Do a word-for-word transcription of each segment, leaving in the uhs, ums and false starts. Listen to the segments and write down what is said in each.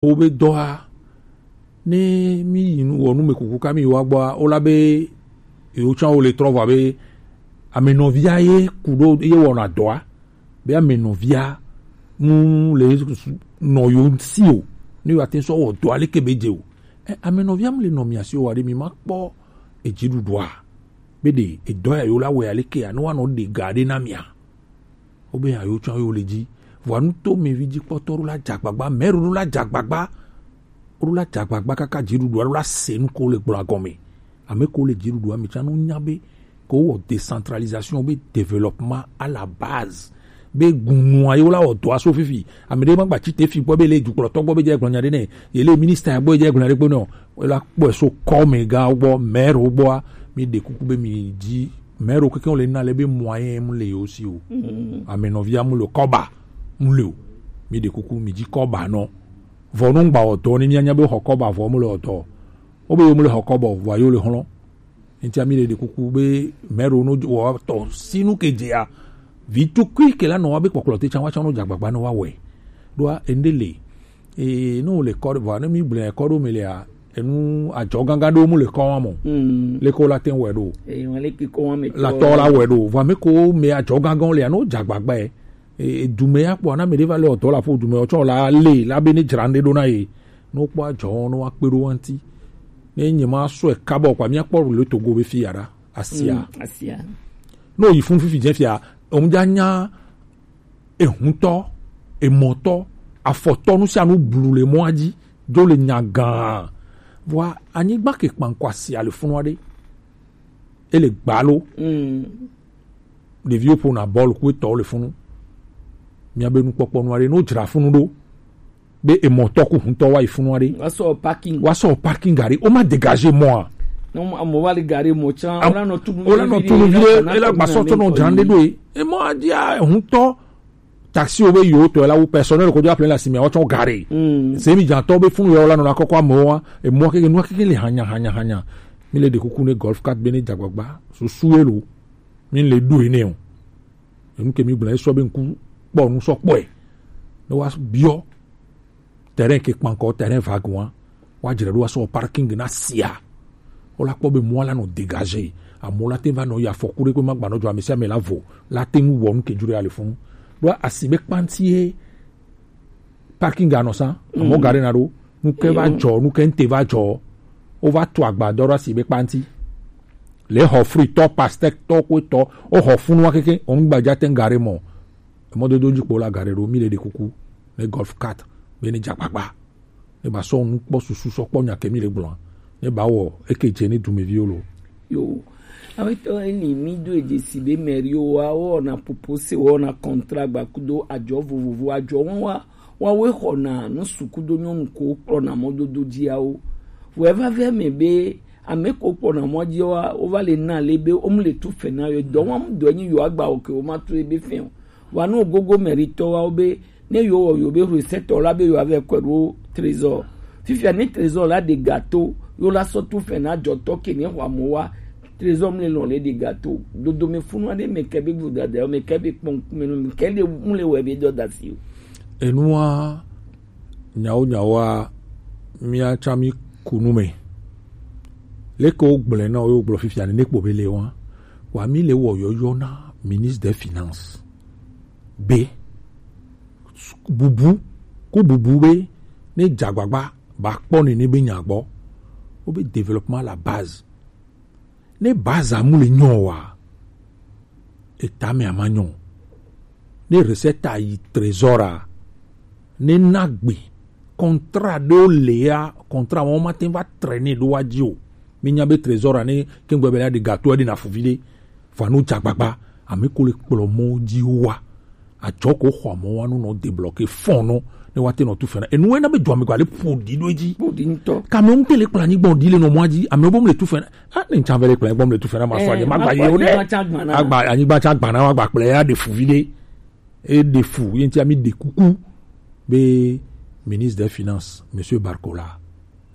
Wo be dɔa, ne mi yi nu wɔ nu me kuku ka mi wa gbɔa, wo la be yewo tsã wo le trɔ vɔ abe ame nɔvia ye ku ɖo ye wɔna dɔa, be ame nɔvia mu le nɔ yo si o, ne yo ate sɔ wɔ dɔa leke be dze o. E, ame nɔvia mu le nɔ mia si o wa ɖe mi ma kpɔ edziɖuɖua be ɖe edɔ ya yo la wɔ ya leke ya ne wa nɔ ɖe ga ɖe na mia. Wo be ya yo tsã yo le dzi. Vɔa nuto me vi dzi kpɔtɔ ɖo la dzagbagba, mɛro ɖo la dzagbagba. Wo ɖo la dzagbagba kaka dziɖuɖua ɖo la se nu ko le gblɔ agɔme. Ame ko le dziɖuɖua me tsã no nya be ko wɔ décentralisation be développement à la base. Be gunua ye wo la wɔ dɔa so fifi. Ame ɖe ma gba tsi te fi gbɔ be le dukplɔtɔ gbɔ be dze gblɔ nya ɖe nɛ. Ye le ministre gbɔ dze gblɔ nya ɖe gbɔ nɛ o. Wo la kpɔe so kɔmega gbɔ, mɛro gbɔa, mi ɖe kuku be mi dzi mɛro keke wo le na le be moyen mu le yo si o. Ame nɔvia mu le o, kɔba mu le o. Mi ɖe kuku mi dzi kɔba nɔ. Vɔ no ŋgba wɔ dɔ ne mi anya be xɔ kɔba vɔ mu le wɔ dɔ. Wo be yo mu le xɔ kɔba vɔ yo le xlɔ. Ntia mi le ɖe kuku be mɛro no wɔ tɔ sinu ke dzea. Vi tukui ke la nɔ wa be kpɔkplɔ te tsã wa tsã no dzagbagba no wa wɛ. Ɖoa ende le. Ee, ne wo le kɔ ɖe, vɔa ne mi gblɔe kɔ ɖo me lea, enu adzɔ gangan ɖewo mu le kɔ wa mɔ. Mm. Leke wo la te wɔe ɖo. Ee, wọn leke kɔ wa me tɔ. La tɔ la wɔe ɖo. Vɔa me ko me adzɔ gangan lea, ne wo dze agbagba ye. E, e, dume ya kpɔ, na me ɖe va le ɔdɔ la ƒo dume, ɔtsɔ la le, la be ne dzra ŋɖe ɖo na ye. Ne wo kpɔ adzɔ, ne wa kpe ɖo wa ŋti. Ne nye ma sɔe kabɔ kpa, mia kpɔ le Togo be fi ya ɖa. Asia. Mm, asia. Ne wo yi fun fifi dze fia, omdza nya ehuntɔ, emɔtɔ, afɔtɔ, nu sia nu blu le mɔa dzi, dzo le nya gã. Vɔa, anyigba ke kpankɔ asia le funu aɖe. Ele gbalo. Mm. Ɖeviwo ƒona bɔl ku etɔwo le funu. Mia be nukpɔkpɔ nu aɖe, no dzra funu ɖo. Be emɔtɔ ku huntɔ wa yi funu aɖe. Wa sɔ parking. Wa sɔ parking gari. O ma dégager mɔa. No, amo wa le gari mɔ tsã. Am-, o la nɔ tunu o la nɔ tunu vi ɖe, e la gbasɔ tɔ nɔ dzra ɖe ɖo ye. Emɔ adia huntɔ. Taxi wo be yo tɔ la wo personnel ko dzo appelé la simi wa tsɔ gari. Mm. Se mi dzatɔ be funu yo la nɔ na kɔkɔ amewo wa. Emɔ keke nu keke le hanya, hanya, hanya. Mi le ɖe kuku ne Golf quatre be ne dzagbagba. Susu elo. Mi le ɖo ene o. Enu ke mi gblɔ esɔ be ŋku kpɔ nu sɔ kpɔe. Ne wa biɔ. Terrain ke kpankɔ, terrain vague wa. Wa dzre ɖo wa sɔ parking na sia. Wo la kpɔ be mɔ la nɔ dégager. Amewo la te va nɔ yi afɔku ɖe kpe ma gba nɔ dzɔ ame sia ame la vo. La te ŋu wɔ nu ke dzro ya le funu. Ɖo asi be kpanti ye parking anɔ sa. Amewo ga ɖe na ɖo. Nu ke va dzɔ, nu ke ŋte va dzɔ. Wo va tu agbadɔ ɖo asi be kpanti. Le xɔ fritɔ, pastèque tɔ, kwe tɔ, wo xɔ funu wa keke, wo ŋgba dza te ŋ ga ɖe mɔ. Emɔdodo dzi kpo la ga ɖe ɖo, mi le ɖe kuku, ne Golf quatre, be ne dze agbagba. Ne ba sɔ nu kpɔ susu sɔ kpɔ nya ke mi le gblɔa. Ne ba wɔ, eke dze ne dumeviwo lo. Yo, awetɔ eli mi do edze si be mɛriwo wa, wɔna popose, wɔna contrat gbakudo, adzɔ vovovo, adzɔ wɔn wa, Woawoe xɔna nu suku do nyɔnu ko kplɔna mɔdodo dziawo. Vɔ eva vɛ me be ame ko kplɔna mɔ dziawoa, wova le na le be womu le tu fɛ na yo. Dɔ wɔm dɔ nyi yo agba o ke wo ma tu ebe fɛ o. Wa no gogo mɛritɔ wa wo be ne yo wɔ yo be recette la be yo avɛ kɔe ɖo trésor. Fifia ne trésor la ɖe gato, yo la sɔ tu fɛ na dzɔtɔ ke ne xɔ amewo wa. Trésor mle lɔn le ɖi gato. Dodome funu aɖe me ke be vodada me ke be kpɔn kume me ke le mle wɛ be dɔ da si o. Enua nyawo nyawoa mia tsã mi ku nu me. Leke wo gblɔe na wo, wo gblɔ fifia ne kpo be le wa. Wa mi le wɔ yɔyɔ na ministre des finances. Be bubu ku bubu be ne dzagbagba ba kpɔ nene be nya gbɔ. Wo be développement à la base. Ne baza mu le nyɔ wa, eta me ama nyɔ. Ne recette a yi trésor a, ne na gbe contrat ɖewo le ya, contrat wɔn ma te va traîner ɖo wa dzi o. Mi nya be trésor a ne kengbe be la ɖe gato ɖe na fuvi ɖe, va no dzagbagba, ame ko le kplɔ mɔ dzi wa. Adzɔ ko xɔ amewo wa no nɔ débloquer fonds nɔ ne wa te nɔ tu fena. Enu wɛ na be dua me gba le ƒo ɖi ɖo edzi. Ƒo ɖi ŋutɔ. Kame ŋute le kplɔ anyigba ɖi le nɔ mɔa dzi. Amewo bom le tu fena. A ne ŋtsa ve le kplɔ anyigba le tu fena ma sɔ adze. Eh, ma gba ye o ɖe. Anyigba tsa gbana. Agba anyigba tsa gbana wa gba kplɔ ya ɖe fu vi ɖe. E ɖe fu ye ŋti ami ɖe kuku be ministre des finances, monsieur Barcola.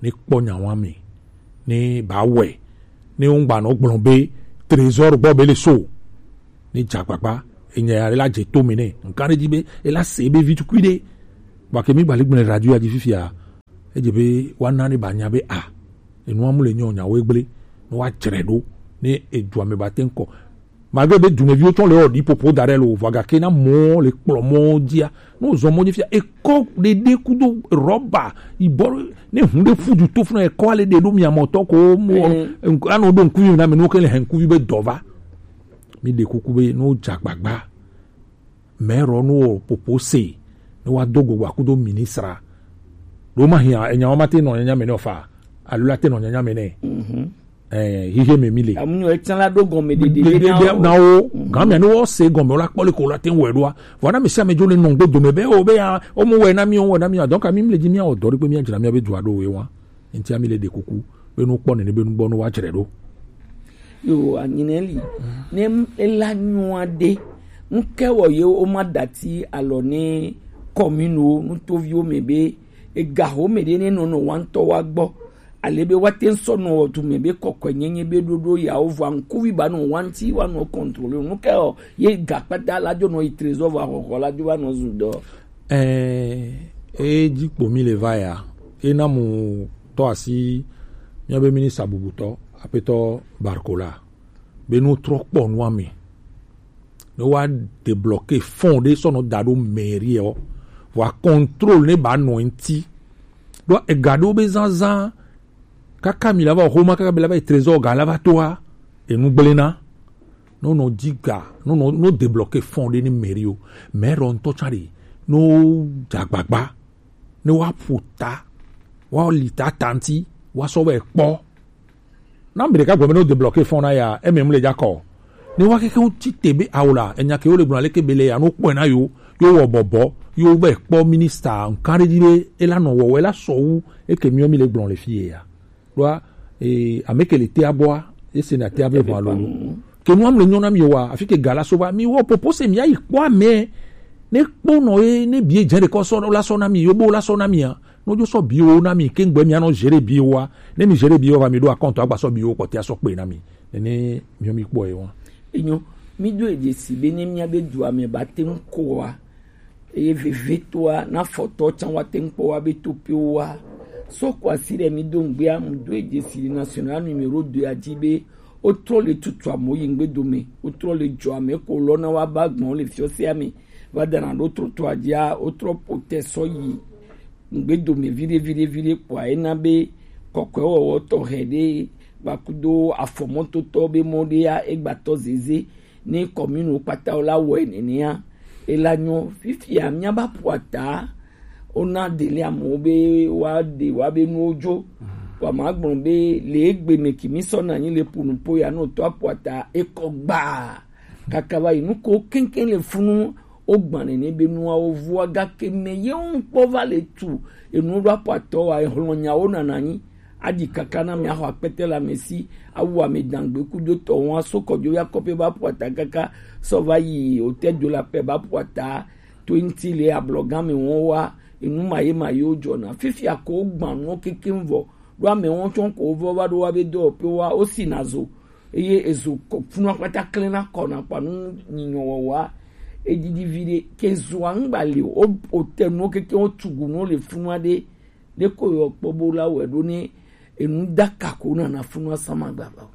Ne kpɔ nya wa me. Ne ba wɛ. Ne wo gba nɔ gblɔ be trésor gbɔ be le so. Ne dze agbagba, enya ya la dze to me nɛ. Nka ɖe dzi be ela se ebe vi tukui ɖe. Vɔ ke mi gba le gblɔe radio ya dzi fifia. Edze be woana ne banya be a, enua mu le nyɔ nyawo egble, ne woadzre ɖo, ne edu ame ba te ŋkɔ. Malgré be dumeviwo tsɔ le wɔ ɖi popo da ɖe lo, vɔ gake na mɔ le kplɔ mɔ dzia, ne wozɔ mɔ dzi fia, ekɔ ɖeɖe kudo rɔba, yibɔ, ne hun ɖe fu du to funa ekɔ ale ɖe ɖo mia mɔtɔ ko mo, anɔ ɖo ŋkuvi na me, ne wo ke le hɛn kuvi be dɔ va. Mi ɖe kuku be ne wodze agbagba, mɛrɔ nu wɔ popo se ne wa do gogba kudo ministra. Ɖo ma hia enya wa ma te nɔ nyanya me ne fa. Alo la te nɔ nyanya me ne. Eh, hihe me mi le. Amunyo etsan la do gɔme de de de na wo. Gan mi ne wo se gɔme la kpɔ le ko la te wɔ ɖoa. Vɔ na mi si ame jo le nɔ gbe dome be o be ya o mo wɔ na mi o wɔ na mi. Donc ami mi le dzi mi o dɔ ɖe pe mi adzra mi be dua ɖo we wa. Nti ami le ɖe kuku be nu kpɔ nene be nu gbɔ nu wa dzre ɖo. Yo, anyinɛ li. Ne m-, ela nyua ɖe. Ŋke wɔ ye wo ma dati alɔ ne kɔmino nutoviwo me be ega ho me ɖe ne nɔnɔ wantɔ wa gbɔ. Ale be wa te ŋsɔ nɔ wɔ dume be kɔkɔe nyenye be ɖoɖo ya wo vɔ ŋkuvi ba nɔ wanti wa nɔ contrôler. Ŋke wɔ ye ga kpata la jo nɔ yi trésor va xɔxɔ la jo va nɔ zu dɔ. Ɛɛ, edzi kpo mi le va ya. Ena mu tɔ asi míabe minista bubutɔ, aƒetɔ Barcola, be no trɔ kpɔ nua me. Ne wa débloquer fonds ɖe sɔ nɔ da ɖo mairie ɔ, wa contrôle ne ba nɔ ŋti. Ɖo ega ɖewo be zazã, kaka mi la va xoma, kaka be la va yi trésor ga la va toa, enu gblẽ na. No nɔ dzi ga, no nɔ, no débloquer fonds ɖe ne mairie o. Maire ŋutɔ tsã ɖe, no dze agbagba, ne wa ƒo ta, wa li ta ta ŋti, wa sɔ vɛ kpɔ. Na mi ɖeka gblɔ be no débloquer fonds na ya, eme mu le dza kɔ. Ne wa keke ŋuti te be awo la, enya ke wo le gblɔ leke be le ya, no kpɔe na yo, yo wɔ bɔbɔ, yo vɛ kpɔ ministre, nkan ɖe dzi be, ela nɔ wɔ, ela sɔ wu, eke miɔ mi le gblɔ le fi ye ya. Ɖoa, eh, ame ke le tea bɔa, ese na tea be ʋua lolo. Ke nua mle nyɔ na mi wa, afi ke ga la so va, mi wɔ popo se mi ayi kpɔ ame. Ne kpɔ nɔ ye, ne bie dze ɖe kɔ sɔ la sɔ na mi, yo bo la sɔ na mi a. No jo sɔ biwo na mi, ke ŋgbe mi anɔ gérer biwo a. Ne mi gérer biwo va mi ɖo akɔntɔ agba sɔ biwo kpɔtɛ sɔ kpe na mi. Nene mi mi kpɔ ye wa. Enyo, mi do edze si be ne mia be dua me ba te ŋu ko wa. Eye vevetoa, na fɔtɔ tsã wa te ŋu kpɔ wa be topiwo wa. Sɔ ko asi ɖe mi do ŋgbea, mu do edze si le national numéro deux a dzi be wotrɔ le tutu amewo yi ŋgbe dome, wotrɔ le dzɔ ame ko lɔ na wa ba gbɔn le fiɔsea me va dana ɖo trottoir dzia, wotrɔ ƒo te sɔ yi ŋgbe dome viɖe viɖe viɖe kpɔa, ena be kɔkɔewɔwɔ tɔxɛ ɖe kpakudo afɔmɔtotɔ be mɔ ɖea egbatɔ zeze ne kɔmino kpata wo la wɔe nenea, ela nyɔ. Fifia mía ba ƒo ata, wona deli amewo be woaɖe woabe nuwo dzo. Vɔa magblɔ be le egbe me ki mi sɔna anyi le ƒo nuƒo ya, ne wotɔ aƒo ata ekɔ gbaa. Kaka va yi nuko keŋkeŋ le funu, wogbã nene be nuawo vua, gake me ye ŋu kpɔ va le tu enu ɖo aƒo atɔ wa, ehlɔ̃ nyawo nana anyi. Aɖi kaka na mi axɔ akpete le ame si, awu ame dangbe kudo tɔ wɔn, aso kɔdzo ya kɔƒe ba ƒo ata kaka sɔ va yi hotel de la paix ba ƒo ata to ŋti le ablɔgã me wɔn wa, enu ma ye ma yewo dzɔna. Fifia ko wogbã nuwo kekeŋ vɔ, ɖo ame wɔn tsɔ ko wovɔ va ɖo wa be dɔwɔƒe wa, wosi na zo, eye ezo kɔ funua kpata klẽ na kɔ na kpa nu nyinyɔ wɔwɔa, edidi vi ɖe, ke zoa ŋgba li o, o, wote nuwo kekeŋ, wotugu nuwo le funua ɖe, ɖe ko yɔ kpɔ bo la wɛ ɖo ne enu daka ko nana funu asama gbava o.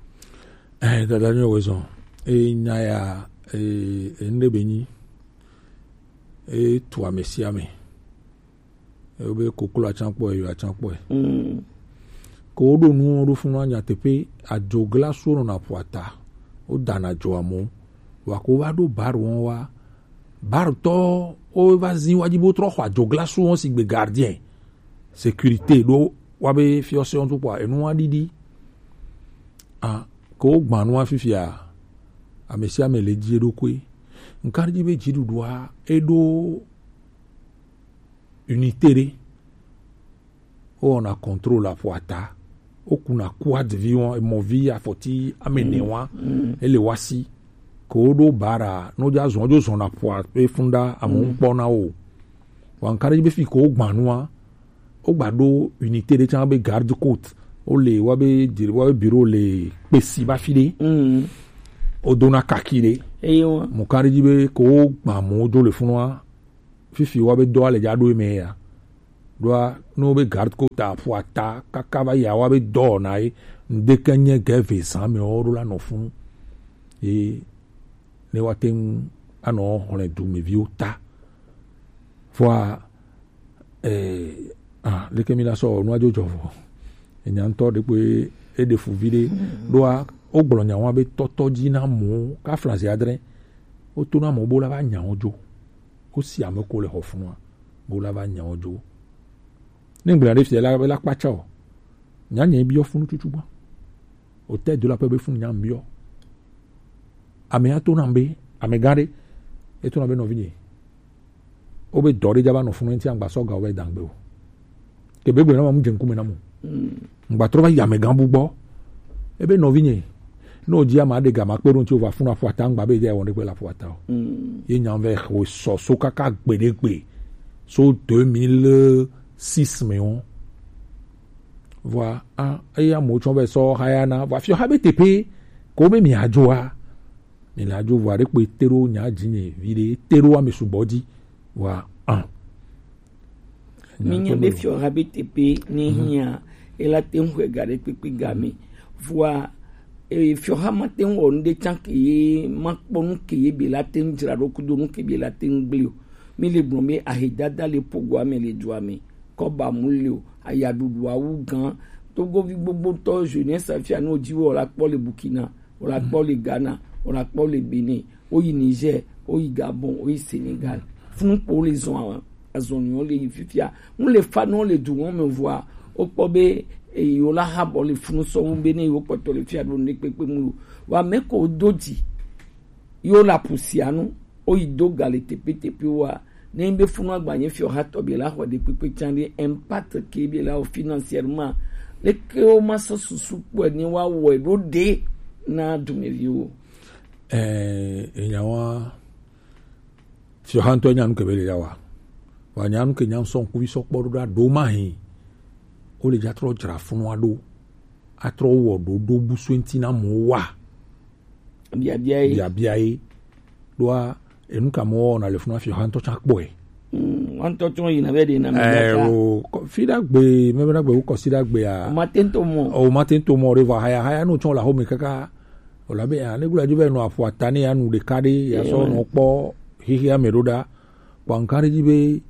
Eh, dada nyɔ wezɔn. E nya ya, e, e nde be nyi. E tu ame sia ame. E be koklo atsan kpɔ, e yo atsan kpɔ. Mm. Ko wo ɖo nu wo ɖo funu anya teƒe adzogla so nɔna ƒo ata. Wo dana dzo amo. Wa ko va ɖo bar wɔn wa. Bar tɔ wo va zi wa dzi bo trɔ xɔ adzogla so wɔn si gbe gardien. Sécurité ɖo wa be fiɔse wɔn tukpɔ enu wa ɖiɖi. A, ko gbanu wa fifia. Ame sia ame le dzi eɖokui. Nka ɖi be dziɖuɖua eɖo unité ɖe. Wowɔna contrôle aƒo ata. Wokuna quad vi wɔn, emɔvi afɔti ame ene wa. Ele wa si. Ko woɖo bara, no dza zɔn, dzo zɔna ƒoa ƒe fun ɖa, amewo ŋkpɔ na wo. Wa nka ɖe be fi ko wogbã nua, wogba ɖo unité ɖe tsã be garde côte. Wole wa be diri wa be bureau le kpesi ba fi ɖe. Wodona kaki ɖe. Eye wa. Mo ka ɖe dzi be ko wogbã mo do le funua, fifi wa be dɔa le dza ɖo eme ya. Ɖoa, ne wobe garde côte aƒo ata kaka va yi awa be dɔ wɔna ye, ŋdeke nye ge ve zã me wo ɖo la nɔ funu. Ye ne woate ŋu anɔ xlẽ dumeviwo ta. Vɔa, eh, ah, leke mi la sɔ nua dzo dzɔ vɔ? Enya ŋutɔ ɖe kpe eɖe fu vi ɖe. Ɖoa, wogblɔ nya wa be tɔtɔ dzi na mɔ, ka flazi adre. Woto na mɔ bo la va nya wo dzo. Wosi ame ko le xɔ funua, bo la va nya wo dzo. Ne ŋgblẽ ɖe fia la, la kpatsa o. Nya nye biɔ funu tutu gbã. O te do la pe be funu nya biɔ. Ame ato na be, ame gã ɖe, eto na be nɔvi nye. Wo be dɔ ɖe dza va nɔ funu ŋuti agba sɔ ga wo va yi dangbe o. Ke be gblẽ na ma mu dze ŋkume na mo. Ŋgba trɔ va yi amegã bu gbɔ. Ebe nɔvinye, ne wòdzi ame aɖe ga ma kpe ɖo ŋuti wòva funu aƒuata ŋgba be edze wɔn ɖe kpe le aƒuata o. Ye nya vɛ xɔ sɔ so kaka gbeɖegbe so deux mille six me wo. Vɔa, a, eye amewo tsɔ vɛ sɔ haya na, vɔa fiɔ ha be teƒe ko be miadzoa. Mi la dzo vɔa ɖe kpe te ɖo nya dzi nye vi ɖe te ɖo ame sugbɔ dzi. Vɔa, a. Mi nya be fiɔ ha be teƒe ne hia, ela te ŋu ga ɖe kpekpe ga me. Vɔa, e, fiɔ ha ma te ŋu wɔ nu ɖe tsan ke ye, ma kpɔ nu ke ye be la te ŋu dzra ɖo kudo nu ke be la te ŋu gblẽ o. Mi le gblɔ be ahedada le pogoa me le dua me. Kɔba mu le o, ayaɖuɖu awu gã. Togovi gbogbotɔ jeunesse afia no dzi wɔ la kpɔ le Burkina, wɔ la kpɔ le Ghana, wɔ la kpɔ le Benin, woyi Niger, woyi Gabon, woyi Senegal. Funu kpo le zɔn azɔn nyɔ le yi fifia. Mu le fa no le du wɔn me vɔa, wokpɔ be eyi wo la ha bɔ le funu sɔwu be ne wo kpɔtɔ le fia ɖo ne kpekpe mu lo. Wa me ko do dzi. Yo la pusianu. Woyi do ga le tepetepe wa. Ne be funu agbanye fiɔ ha tɔ be la xɔ de kpekpe can de impact ke be la o financièrement. Leke wo ma sɔ susu kpɔ ni wa wɔ ɖo de na dumeviwo. Eh, enyawa fiɔ ha ŋutɔ nyanu ke be le ya wa. Wa nyanu ke nyanu sɔ ŋkuvi sɔ kpɔ ɖo ɖa ɖo ma hin. Wo le dza trɔ dzra funu aɖo. Atrɔ wɔ ɖo ɖo busu ŋuti na mo wa. Biabia ye. Biabia ye. Ɖoa, enu ka mɔ na le funu afi hã ŋutɔ tsã kpɔe. Mm, wa ŋutɔ tsɔ yina vɛ ɖe na mi Eh, ɖeka. O, kɔ-, fi ɖagbe, mebe ɖagbe, wo kɔsi ɖagbea. O ma te ŋutɔ mɔ. O ma te ŋutɔ mɔ ɖe vɔ haya, haya no tsɔ la home kaka. O la be, ah, ne gula dzo vɛ nɔ aƒu ata ne ya nu ɖeka ɖe, ya Eh, sɔ ouais. Nɔ kpɔ xixia me ɖo ɖa. Kpɔ nkan ɖe dzi be,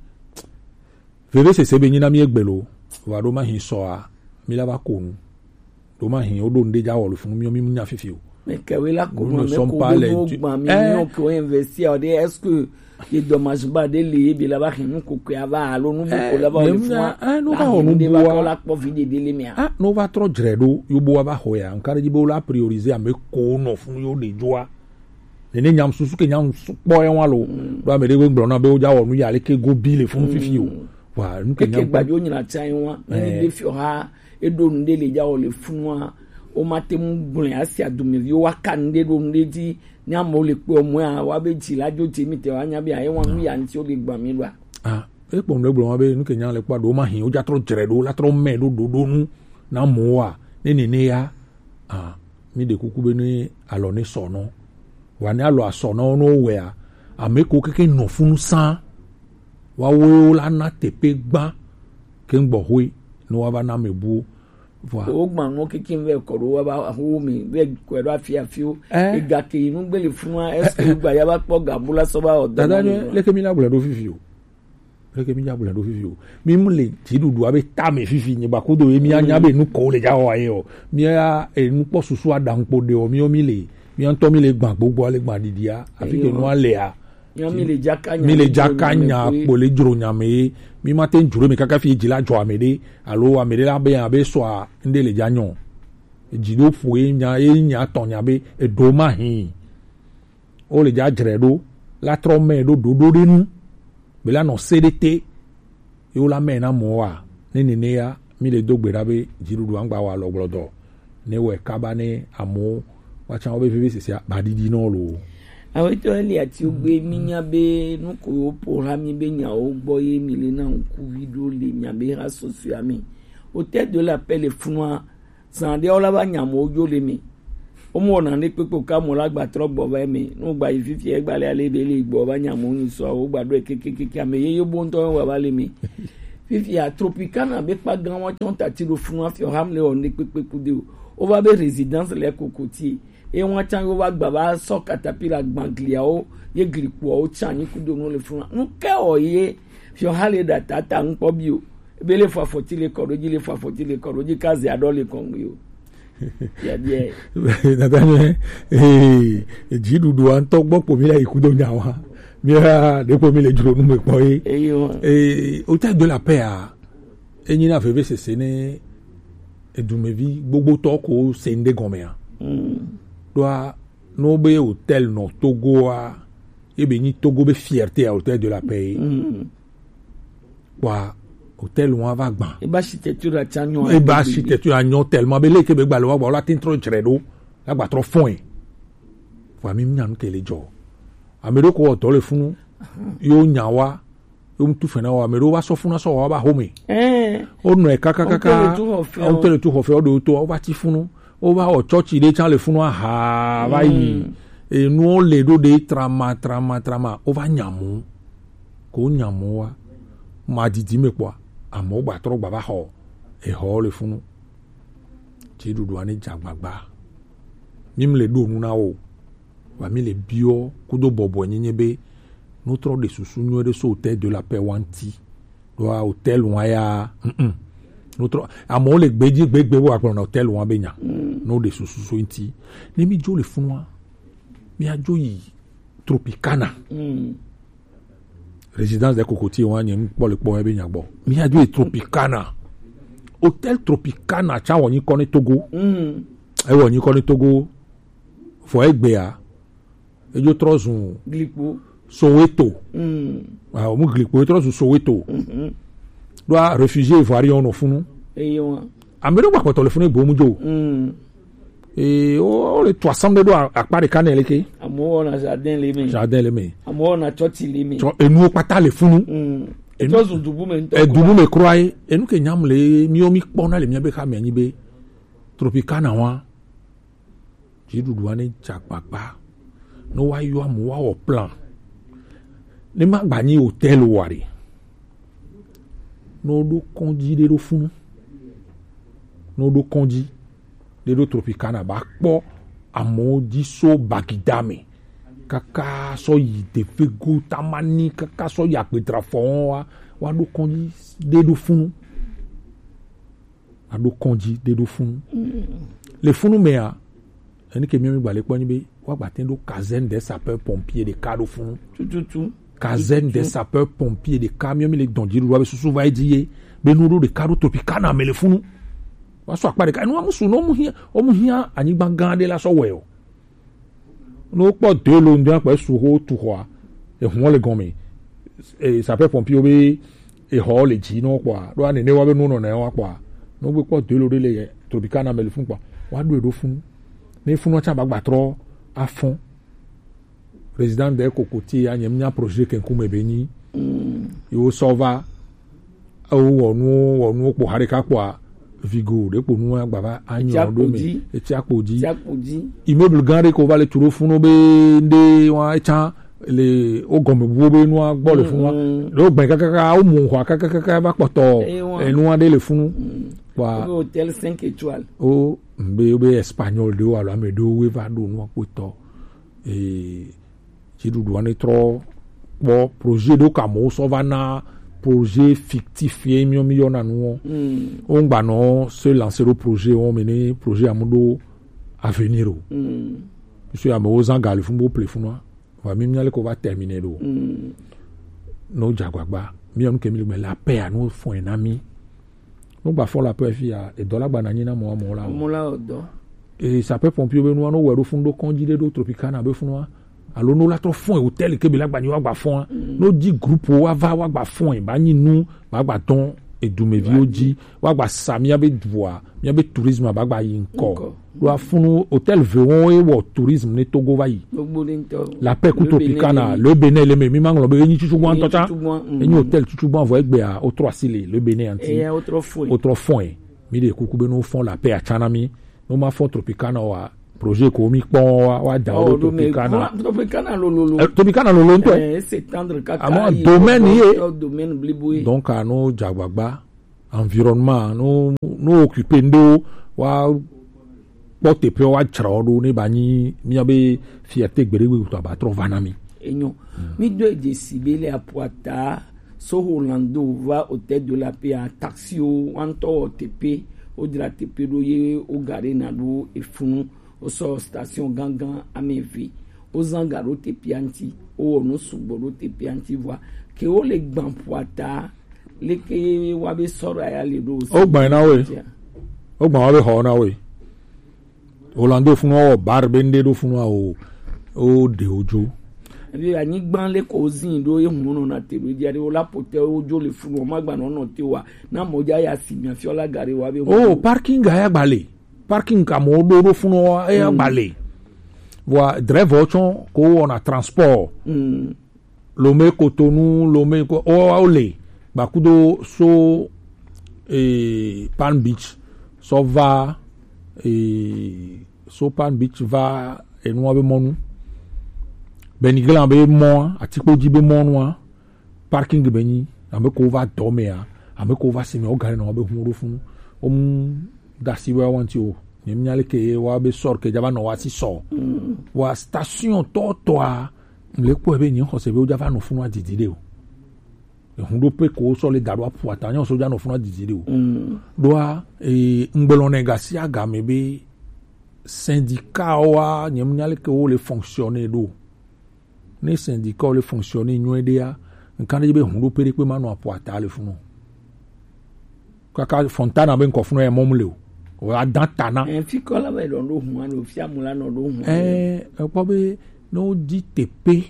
veve sese be nyi na mi egbe lo. Va ɖo ma hin sɔa, mi la va ko nu. Ɖo ma hin wo ɖo ŋɖe dza wɔ le funu mi, mi nya fifi o. Mais que oui, là, comment nous ne sommes pas les dieux. Nous ne sommes pas les dieux. Est-ce que ye dommage ba de li bi la ba hin nu ko ko ya va alo nu ko la ba le funu. Ah, no va wɔ nu bua. La kpɔ vi de de le mia. Ah, no va trɔ dzre ɖo, yo bo va xɔ ya. Nkan ɖe dzi be wo la prioriser ame ko nɔ funu yo ɖe dzoa. Nene nyam susu ke nyam su-, kpɔ ye wa lo. Mm. Ɖo ame ɖe gblɔ na be wo dza wɔ nu ya le ke go bi le funu fifi o. Mm. Wa nu ke nyam. Eke gbajo nyina tsa ye wa. Eh. Ni de fiɔ ha, e ɖo nu ɖe le dza wɔ le funua. O ma te mu gblẽ asi adumevi wa ka nu ɖe ɖo nu ɖe dzi. Ni amewo le kpɔ mɔ ya, wa be dzi la dzo dze mi te wa nya be aye wa nu ya ŋuti wo le gba mi ɖoa. Ah, e kpɔ nu ɖe gblɔ ma be nu ke nyam le kpɔ ɖo ma hin, wo dza trɔ dzre ɖo, la trɔ mɛ ɖo ɖoɖo nu na mɔ wa. Ne nene ya, Ah, mi ɖe kuku be ne alɔ ne sɔ nɔ. Wa ne alɔ asɔ nɔ no wɛa, ame ko keke nɔ funu san. Wa wo la na teƒe gbã ke gbɔ hoe ne wa va na me bu. Vɔa. Wo gbã nɔ keke vɛ kɔ ɖo wa ba ho mi vɛ kɔ ɖo afi afi o. Eh. Ega ke yi nu gbe le funua, est-ce que wo gba ya ba kpɔ gabu la sɔ ba o. Dada ne, leke mi na gblɔ ɖo fifi o. Leke mi dza gblɔe ɖo fifi o. Mi mu le dziɖuɖua be tame fifi nye gba kudo ye mi anya be nu ko le dza wɔ ye o. Mi ya enu kpɔ susu aɖaŋu kpo ɖe o. Mi o mi le, mi ŋutɔ mi le gbã gbogbo ale gbã ɖiɖia. Afi ke nua lea. Mi le dzaka nya, mi le dzaka nya kpo le dzro nya me ye. Mi ma te dzro me kaka fi dzi la dzɔ ame ɖe. Alo ame ɖe la be abe sɔa ŋɖe le dza nyɔ. Dzi ɖo ƒo ye nya, ye nya tɔ nya be eɖo ma hin. Wo le dza dzre ɖo, la trɔ mɛ ɖo ɖoɖo ɖe nu. Be la nɔ se ɖe te. Ye wo la mɛ na mɔ wa. Ne nene ya, mi le do gbe ɖa be dziɖuɖu angba wa lɔ gblɔ dɔ. Ne wɛ kaba ne amewo, wa tsa wo be veve sese ba ɖiɖi nɔ lo. Awetɔ Eli ati wo gbe mi nya be nu ko wo po ha mi be nyawo gbɔ ye mi le na ŋkuvi ɖo le mia be ha sɔsɔa mi. Wo te do la pe le funua. Zan ɖewo la va nya amewo dzo le me. Womewɔ naneke kpekpe o, ke amewo la gba trɔ gbɔ va eme. Ne wogba yi fifia, egba le ale be le gbɔ va nya amewo nyi sɔ, wogba ɖɔe kekekeke, ame yeye bo ŋutɔ wa va le me. Fifia Tropicana be kpa gan wa tsɔn tati ɖo funu afi o hamle o ne kpekpe kude o. O va be résidence le kokoti. E wa tsan yo va gba va sɔ katapila gbangliawo ye glikpoawo tsan nyi kudo nu le funu. Nu ke o ye fi o ha le da tata ŋkpɔ bi o. Ebe le fɔ afɔti le kɔ ɖo dzi, le fɔ afɔti le kɔ ɖo dzi, ka ze aɖɔ le kɔŋgbe o. Biabiae. Natanye, eh, dziɖuɖua ŋutɔ gbɔ kpo mi la yi kudo nyawa. Mi la ɖe kpo mi le dzro nu me kpɔ ye. Eyo. Eh, Hôtel de la Paix a, enyi na vevesese ne edumevi gbogbotɔ ko se ŋɖe gɔmea. Mm. Ɖoa, no be hôtel nɔ Togoa, ye be nyi Togo be fierté a Hôtel de la Paix ye. Mm. Kpɔa, hôtel wa va gbã. Ebe architecture atsa nyɔ. Ebe architecture anyɔ tellement be leke be gba le wa gba la tin trɔ dzre ɖo. La gba trɔ fɔe. Vɔa mi nya nu ke le dzɔ. Ame ɖewo ko wɔ dɔ le funu. Yo nya wa. Yo mu tu fɛn na wa. Ame ɖewo va sɔ funu sɔ wa ba home. Eh. O nɔ kaka kaka. O te le tu xɔ fɛ, o te le tu xɔ fɛ, o ɖo to, o va ti funu. O va wɔ tsɔtsi ɖe tsa le funu aha va yi. Mm. Enuwo le ɖo ɖe trama, trama, trama. O va nya mɔ. Ko nya mɔ wa. Ma didi me kpɔa. Amewo gba trɔ gba va xɔ. Exɔ le funu. Dziɖuɖua ne dza gbagba. Mi mle ɖo nu na wo. Wa mi le biɔ kudo bɔbɔe nyenye be no trɔ ɖe susu nyuie ɖe so Hôtel de la Paix wa ŋti. Ɖoa hôtel wa ya, mm, mm. No trɔ, amewo le gbedzi gbegbe wo agblɔ na hôtel wa be nya. Mm. No ɖe susu so ŋti. Ne mi dzo le funua, mi adzo yi Tropicana. Mm. Résidence des Cocotiers wa nye ŋkpɔ le kpɔ ebe nya gbɔ. Mi adzo yi Tropicana. Hôtel Tropicana tsa wɔ nyi kɔ ne Togo. Mm. Ewɔ nyi kɔ ne Togo. Vɔ egbea, edzo trɔ zu Glikpo. Soweto. Mm. Ah, o mu Glikpo, etrɔ zu Soweto. Mhm. Ɖoa réfugié ivoirien nɔ funu. Eyo. Ame ɖewo gba kpɔtɔ le funu egbe mu dzo. Mm. Ee, o, o le to asam ɖe ɖo a-, akpa ɖeka ne leke. Amewo wɔna jardin le me. Jardin le me. Amewo wɔna tsɔtsi le me. Tsɔ enuwo kpata le funu. Mm. Enu-, etrɔ zu dubu me ŋutɔ. Edubu me kura ye. Enu ke nyam le, miwo mi kpɔna le mia be xa me anyi be Tropicana wa. Dziɖuɖua ne dze agbagba. Ne woayɔ amewo woawɔ plan. Ne magba nyi hôtel oa ɖe. Ne woɖo kɔdzi ɖe ɖo funu. Ne woɖo kɔdzi ɖe ɖo Tropicana ba kpɔ amewo dzi so Bagida me. Kaka sɔ yi Devego Tamani, kaka sɔ yi Agbedrafɔ wa, woaɖo kɔdzi ɖe ɖo funu. Aɖo kɔdzi ɖe ɖo funu. Mm. Le funu mea, enu ke miɔ mi gba le kpɔ nyi be, woagba te ɖo caserne des sapeurs pompiers ɖeka ɖo funu. Tututu. Caserne des sapeurs pompiers ɖeka, miɔ mi le dɔn dziɖuɖua be susu va edzi ye, be nu ɖo ɖeka ɖo Tropicana me le funu. Wa sɔ akpa ɖeka, enu wa mu su, no mu hiã, o mu hiã anyigba gã ɖe la sɔ wɛ o. Ne wokpɔ de lo ŋdɔ akpa su xo tu xɔa, ehun le gɔme. E, sapeur pompier be exɔ le dzi nɔ kpɔa, ɖo ane ne wa be nu nɔ na wa kpɔa. Ne wogbe kpɔ de lo ɖe le Tropicana me le fun kpɔa, wa ɖo eɖo fun. Ne fun wa tsa ba gba trɔ afɔn. Président de kokoti ya nye mnya projet ke ŋkume be nyi. Mm. Yo sɔ va Ewo wɔ nuwo, wɔ nuwo kpo ha ɖeka kpoa, vigo ɖe kpo nuwo agba va anyɔ ɖo me. Etsi akpo dzi. Etsi akpo dzi. Immeuble gã ɖe ko va le tu ɖo funu be ŋɖe wa etsa le wo gɔme buwo be nua gbɔ le funu wa. Mm. Ɖo gbɛ kakaka wo mu xɔa kakaka va kpɔtɔ. Eye wa. Enua ɖe le funu. Mm. Kpoa. Wo be hôtel cinq étoiles. O be, be espagnol ɖewo alo ame ɖewo va ɖo nua kpotɔ. Ee, dziɖuɖua ne trɔ kpɔ projet ɖewo ka amewo sɔ va na projet fictif ye miɔ mi yɔna nu wɔn. Mm. Wo ŋgba nɔ se lancer ɖo projet wɔn me ne projet amu ɖo avenir o. Mm. Parce que amewo zã ga le fun bo ple funua. Va mi mia le ko va terminer ɖo. Mm. No dza gbagba. Mi yɔ nu ke mi le gbe la paix a no fɔn na mi. No gba fɔ la paix fi ya, edɔ la gba na nyi na mɔ, mɔ la o. Mɔ la o dɔ. E sapeur pompier be nua no wɛ ɖo fun ɖo kɔdzi ɖe ɖo Tropicana be funua. Alo no la trɔ fɔn hôtel ke be la gba nyi wa gba fɔn. Mm. No dzi groupe wa va wa gba fɔn ba nyi nu ba gba dɔn edumeviwo dzi wa gba sa mia be dua, mia be tourisme ba gba yi ŋkɔ. Ŋkɔ. Ɖo afunu hôtel ve wɔn ye wɔ tourisme ne Togo va yi. Gbogbo ɖe ŋutɔ. La paix ku Tropicana, le Bénin le me, mi ma ŋlɔ be enyi tsutsu gbã ŋutɔ tsa. Enyi tsutsu gbã, mm. Enyi hôtel tsutsu gbã vɔ egbea, wotrɔ asi le, le Bénin anti. Eya, wotrɔ fɔe. Wotrɔ fɔe. Mi ɖe kuku be no fɔn la paix atsa na mi. No ma fɔn Tropicana wa, Projet ko mi kpɔn wa wa da o do Tropicana. Tropicana lolo. Eh, Tropicana lolo ntɔ. Eh, c'est tendre kaka. Amo domaine ye. Domaine blibo ye. Donc ano jagbagba environnement no no occuper ndo wa kpɔ teƒe wa tsra o do ne ba nyi mi be fierté gbere wi to ba trɔ va na mi. Enyo. Mi do je si be le apuata so Orlando va Hôtel de la Paix a taxi o wan to tepe o dra tepe do ye o gare na do e funu. Wosɔ station gangan ame eve. Wozã ga ɖo teƒea ŋuti. Wowɔ nu sugbɔ ɖo teƒea ŋuti vɔa. Ke wole gbã ƒua ta. Leke wa be sɔra ya le ɖo. Wogbã na we. Wogbã wa be xɔ na we. Holando funu wɔ bar be ŋɖe ɖo funu awo. O de ojo. Ebi anyigba le ko zin ɖo ye hunu nɔ na te ɖo dzi aɖe wo la pote wo dzo le funu ma gba nɔ nɔ te wa na mɔ dza ya si mia fiɔ la ga ɖe wa be. Oh, parking ga ya gba le. Parking ka mo do do funu wa e ya gba le. Wa driver tsɔ ko wɔna transport. Mm. Lome Cotonou, Lome ko o o le. Ba kudo so eh, Palm Beach so va eh, so Palm Beach va enua be mɔnu. Beniglan be mɔ, atikpo dzi be mɔnua. Parking be nyi, ame ko va dɔ mea, ame ko va si me, o gari na wa be hun ɖo funu. O mu dasi wa wanti o. Nye mi nya le ke wa be sɔr ke java nɔ wa si sɔ. Wa station tɔ tɔ a, le ko be nyi xɔse be o java nɔ funu adidi de o. Ehun ɖo pe ko sɔ le da ɖo apu ata, nyi o sɔ ja nɔ funu adidi de o. Ɖoa, e, ŋgbelɔ ne gasi agame be syndicat wa, nye mi nya le ke wo le fonctionner ɖo. Ne syndicat le fonctionner nyuie ɖea, nkan ɖe be hun ɖo pe ɖe kpe ma nɔ apo ata le funu. Kaka Fontana be nkɔ funu ya mɔm le o. O ya dan tana. Eh, fi kɔ la be ɖɔ ɖo hun ano, fi amu la nɔ ɖo hun. Eh, ekpɔ be ne wo di tepe,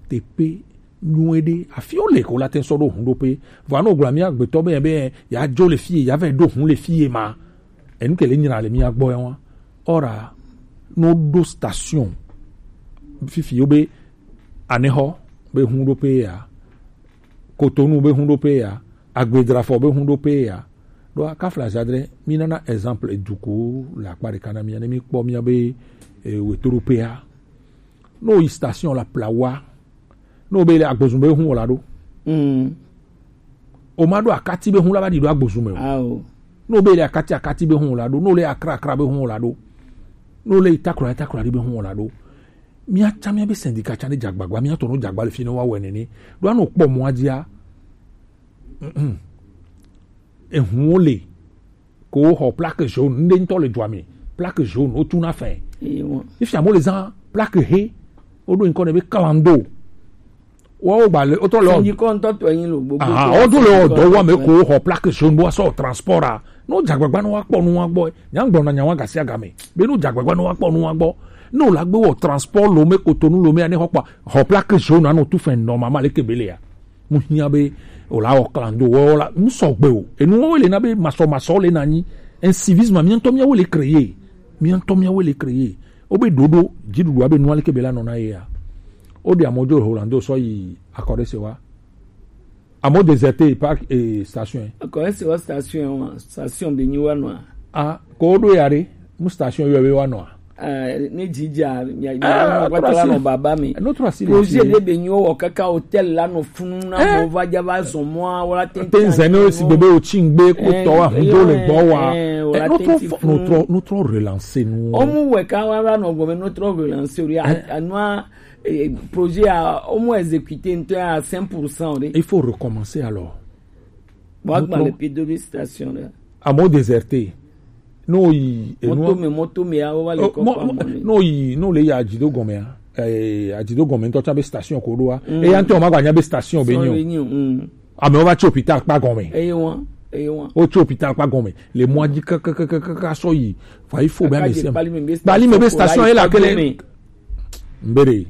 tepe nyuie ɖe, afi wo le ko la te sɔ ɖo hun ɖo pe. Vɔ ano gblɔ mi agbetɔ be, be ya dzo le fie, ya vɛ ɖo hun le fie ma. Enu ke le nyina le mia gbɔ ya wa. Ora no ɖo station. Fifi yo be Anexɔ be hun ɖo pe ya. Cotonou be hun ɖo pe ya. Agbedrafɔ be hun ɖo pe ya. Ɖo akafla zadre, mi nana exemple eduku le akpa ɖeka na mia, ne mi kpɔ mia be, e, wetoɖoƒea. No yi station la plawa. No be le agbozun be hun la ɖo. Mm. O ma ɖo akati be hun la va ɖi ɖo agbozu me o. Ao. No be le akati akati be hun la ɖo, no le akra akra be hun la ɖo, no le takra takra ɖi be hun la ɖo. Mia tsa mia be syndicat tsa ne dzagbagba, mia tɔ no dzagba le fi ne wa wɛ nene. Ɖo ano kpɔ mɔ adzia. Mm. Ehun wo le. Ko xɔ plaque jaune, ŋɖe ŋutɔ le dua me. Plaque jaune, wotu na fɛ. Ifia mo le zan plaque he, woɖo ŋkɔ ne be kalando. Woawo gba le, wotɔ le. Sɛnji kɔ ŋutɔ tɔ yin lo gbogbo. Aha, woɖo le ɔdɔ wa me ko xɔ plaque jaune bo asɔ transport a. No dzagbagba no wa kpɔ nu wa gbɔ. Nya gblɔ na nya wa gasi agame. Be no dzagbagba no wa kpɔ nu wa gbɔ. No la gbe wɔ transport lo me Cotonou lo me ane xɔ kpa. Xɔ plaque jaune ano tu fɛ nɔ mama le kebele ya. Mu hiã be wòle awɔ klando wɔ la nu sɔgbe o. Enuwo le na be masɔmasɔ le na nyi. Incivisme mía ŋutɔ míawoe le créer. Mía ŋutɔ míawoe le créer. Wobe ɖoɖo dziɖuɖua be nua leke be la nɔna ye ya. Woɖe amewo dzo le Holando sɔ yi akɔ ɖe se wa. Amewo déserté parc et station. Akɔ ɖe se wa station wa, station be nyi wa nɔa. Ah, ko woɖo ya ɖe, mu station yɔ be wa nɔa. Eh, ne dzidza mia mia kpata la nɔ baba mi. Projet ɖe be nyi wowɔ kaka hôtel la nɔ funu na mo va dza va zɔn mɔa wala te te nzɛ ne si bebe o tsi ŋgbe ko tɔ wa hun do le gbɔ wa. Notre notre notre relance nu. Omu wɛ ka wa va nɔ gɔme notre relance o ya anua projet a omu exécuté ntɔ à cinq pour cent de. Il faut recommencer alors. Bon, agba le pied de station là. Amewo déserté. No yi enua. Moto me moto me awo va le kɔ pa mo. No yi no le ya adzido gɔme a. Eh, adzido gɔme ŋutɔ tsa be station ko ɖoa. Eya ŋutɔ ma gba nya be station be nyo. Amewo va tsi hôpital kpa gɔme. Eye wa eye wa. O tsi hôpital kpa gɔme. Le mɔa dzi kakakakaka sɔ yi. Fa il faut be ame se. Bali me be station ye la kele. Mbere.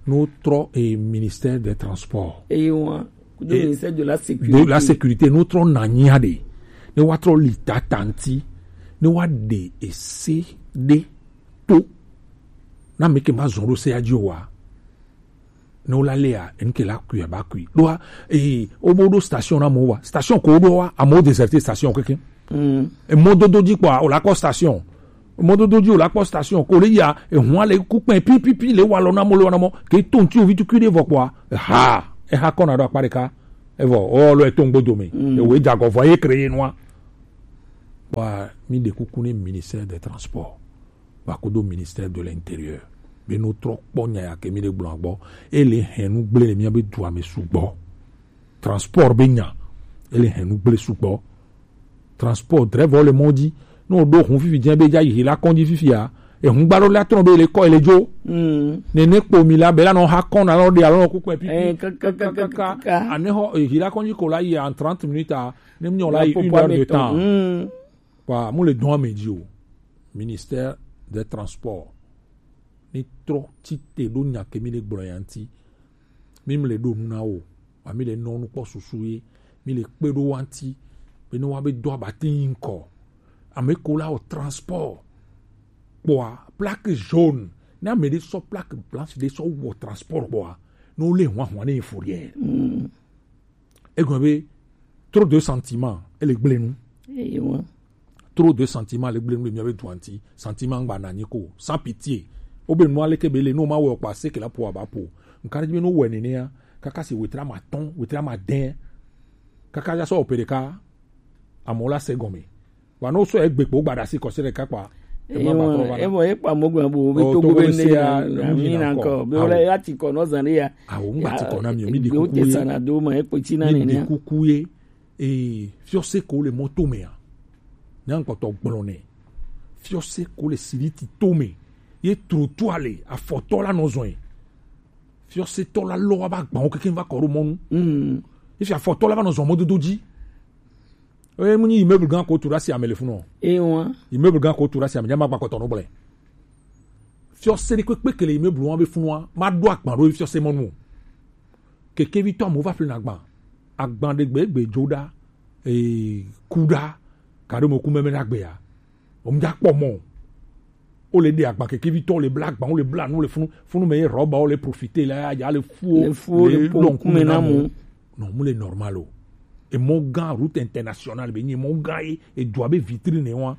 No trɔ e ministère des transports. Eye wa. Kudo ministère de la sécurité. De la sécurité, no trɔ na nyia de. Ne wa trɔ li tata ŋti. Ne wa de ese de to. Na me ke ma zɔn ɖo se ya dzi o wa. Ne wo la lea, enu ke la kui aba kui. Ɖoa, eh, wo bo ɖo station na mo wa. Station ko ɖo wa, amewo déserté station keke. Mm. E mɔdodo dzi kpɔa, o la kɔ station. Mɔdodo ji o la kpɔ station ko le ya, ehun ale ku kpɛ pipipi le wa lɔ na mɔ le wa na mɔ ke to ŋti ovi tukui ɖe vɔ kpɔa, eha eha kɔna ɖo akpa ɖeka, evɔ ɔ lɔ eto ŋgbo dome, ewe dza gɔ vɔ ye kre ye nua. Wa mi ɖe kuku ne ministère des transports, wa kodo ministère de l'intérieur, be no trɔ kpɔ nya ya ke mi ɖe gblɔ gbɔ, ele hɛn nu gble le mia be dua me sugbɔ. Transport be nya, ele hɛn nu gble sugbɔ. Transport, drɛvɔ le mɔ dzi. Ne woɖo hun fifi dze be dza yi hila kɔndzi fifia, ehun gba ɖo la trɔ be le kɔ ele dzo. Nene kpo mi la be la nɔ ha kɔn na lɔ de alɔ nɔ kukpɛ pipi. Kaka anehɔ hila kɔndzi ko la yi en trente minutes a, ne mi nyɔ la yi une heure de temps. Wa mu le dɔn ame dzi o. Ministère des transports ni trɔ tite ɖo nya ke mi le gblɔ ya ŋti. Mi mle ɖo nu na wo, wa mi le nɔ nu kpɔ susu ye, mi le kpe ɖo wa ŋti, be ne wa be do abati yi ŋkɔ. Ame ko la wɔ transport kpɔa, plaque jaune, ne ame ɖe sɔ plaque blanche ɖe sɔ wɔ transport kpɔa, ne wo le hwan hwan ne yi fourrière. Egɔme be trop de sentiment, ele gble nu. Ewa. Trop de sentiment le gble nu le mia be dua ŋti. Sentiment ŋgba na nyi ko, sans pitié. Wo be nu ale ke be le no ma wɔ kpa se ke la po aba po. Nka be no wɔ nene ya, kaka si wetra ma tɔn, wetra ma den. Kaka ya sɔ opere ka, amo la se gɔme. Wa no sɔ egbe kpo gba da si kɔ se ɖeka kpa. Ema ba trɔ va na. Evɔ ye kpa mo gbe bo be to gbe ne ya, mi na ko be wala ya ti ko no zan ya. Awo ŋgba ti ko na mi o, mi di kuku ye. Sana do ma e kpeti na ne. Mi di kuku ye. Ee, fiɔse ko le mɔto mea, nyankpɔtɔ gblɔ nɛ. Fiɔse ko le siriti to me. Ye trottoir le afɔtɔ la nɔ zɔn ye. Fiɔsetɔ la lɔ wa ba gbawo keke va kɔ ɖo mɔnu. Efi afɔtɔ la va nɔ zɔn mɔdodo dzi. Eye mu nyi immeuble gan ko tu ɖe asi ame le funu. Ewa. Immeuble gan ko tu ɖe asi ame, nya ma gba kɔtɔ no gblɛ. Fiɔse ɖe kpekpe ke le immeuble wa be funua, ma ɖo agban ɖo fiɔse mɔnu o. Kekevitɔ amewo va ƒlena agban. Agban ɖe gbe egbe dzo ɖa, ee, ku ɖa, ka ɖo me ku mɛmɛ ɖa gbea. Wo mu dza kpɔ mɔ. Wo le ɖe agban kekevitɔ, wo le bla agban, wo le bla nu, wo le funu, funu me ye rɔba, wo le profiter la ya, ya le fuo, le fuo, le le po lɔn kume na mo. Non, mu le normal o. Emɔ gã, route internationale be nyi emɔ gã ye, edua be vitrine wa.